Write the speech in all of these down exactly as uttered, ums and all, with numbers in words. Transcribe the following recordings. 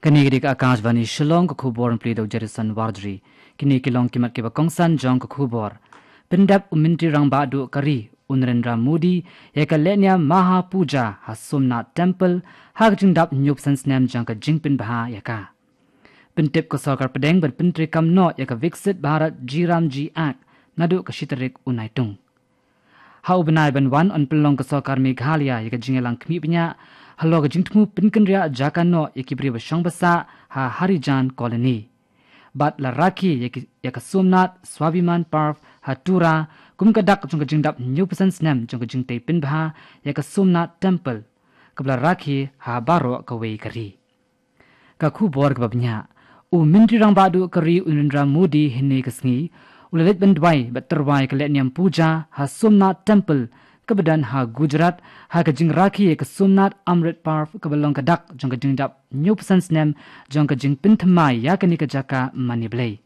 Kane ka dei ka Akashvani Shillong, ka khubor ban pule da u Jerison Warjri. Kine ki long ki mat kiba kongsan jong ka khubor. Pyndep u Myntri Rangbah Duh ka ri u Narendra Modi ïa ka lehniam Maha Puja ha Somnath Temple ha ka jingdap hynñiewphew san snem jong ka jingpynbha ïa ka. Pyntip ka sorkar pdeng ban pyntreikam noh ïa ka Viksit Bharat G RAM G Act naduh ka shi tarik u Naitung. Ha u bnai ban wan yn pynlong ka sorkar Meghalaya ïa ka jingïalang khmih bniah halor ka jingthmu pynkynriah jaka noh ïa ki briew ba shong ba sah ha Harijan Colony. Bad la rakhe ïa ki, ïa ka Somnath Swabhiman Parv ha Tura kum ka dak jong ka jingdap hynñiewphew san snem jong ka jingtei pynbha ïa ka Somnath Temple, kaba la rakhe ha baroh kawei ka ri. Ka khubor kaba bniah. U Myntri Rangbah Duh ka ri u Narendra Modi hynne ka sngi u la leit ban duwai bad tyrwa ïa ka lehniam puja ha Somnath Temple kaba don ha Gujarat, ha ka jingrakhe ïa ka Somnath Amrit Parv kaba long ka dak jong ka jingdap hynñiewphew san snem jong ka jingpynthymmai ïa kane ka jaka mane Blei.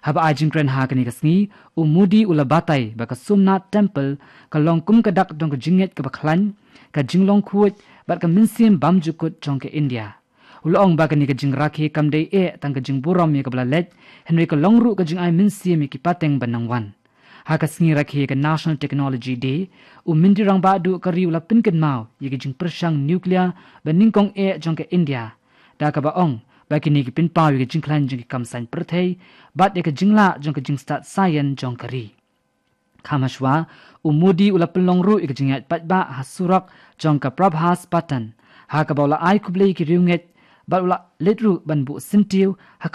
Haba ai jingkren ha kane ka sngi, u Modi u la batai ba ka Somnath Temple ka long kum ka dak jong ka jingngeit kaba khlaiñ, ka jinglong khuid bad ka mynsiem bymjukut jong ka India. U la ong ba kane ka jingrakhe kam dei eh tang ka jingburom ïa kaba la leit, hynrei ka long ruh ka jingai mynsiem ïa ki pateng ba nang wan. Ha ka sngi rakhe ïa ka National Technology Day, u Myntri Rangbah Duh ka ri u la pynkynmaw ïa ka jingpyrshang nuclear ba nyngkong eh jong ka India, da kaba ong ba kine ki pynpaw ïa ka jingkhlaiñ jong ki kam saiñ pyrthei bad ïa ka jinglah jong ka jingstad saian jong ka ri. Kham hashwa, u Modi u la pynlong ruh ïa ka jingïaid paidbah ha surok jong ka Prabhas Patan, ha kaba u la ai khublei ïa ki riewngeit bad u la leit ruh ban buh syntiew ha